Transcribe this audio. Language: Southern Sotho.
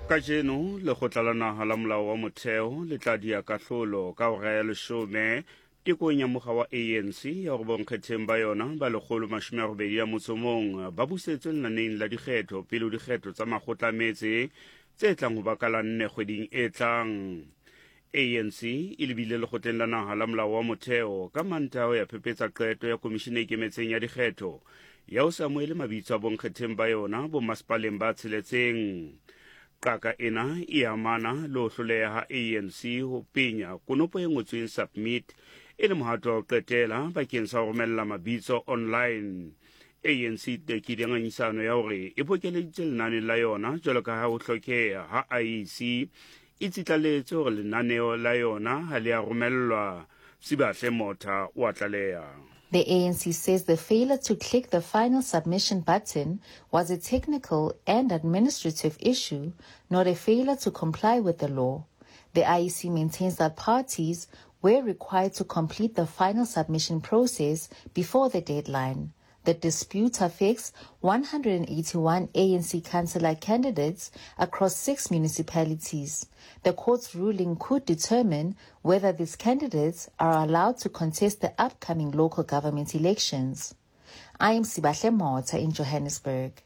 Kajeno, Lekgotla la Naha la Molao wa Motheo le tla dia kahlolo ka hora ya leshome tekong ya mokga wa ANC ya hore bonkgetheng ba yona ba 181 ba busetswe lenaneng la dikgetho pele ho dikgetho tsa makgotla a metse tse tlang ho ba ka la nne kgweding e tlang. ANC e lebile Lekgotleng la Naha la Molao wa Motheo ka Mantaha ho ya phephetsa qeto ya Komishene e Ikemetseng ya Dikgetho ya ho se amohele mabitso a bonkgetheng ba yona bommasepaleng ba tsheletseng. Qaka ena e amana le ho hloleha ha ANC ho penya konopo e ngotsweng Submit e le mohato wa ho qetela bakeng sa ho romella mabitso online. ANC e tekile ngangisano ya hore e bokeleditse lenane la yona jwalo ka ha ho hlokeha ha IEC e tsitlaletse hore lenaneo la yona ha le a romellwa. Sibahle Motha o a tlaleha. The ANC says the failure to click the final submission button was a technical and administrative issue, not a failure to comply with the law. The IEC maintains that parties were required to complete the final submission process before the deadline. The dispute affects 181 ANC councillor candidates across six municipalities. The court's ruling could determine whether these candidates are allowed to contest the upcoming local government elections. I am Sibahle Mota in Johannesburg.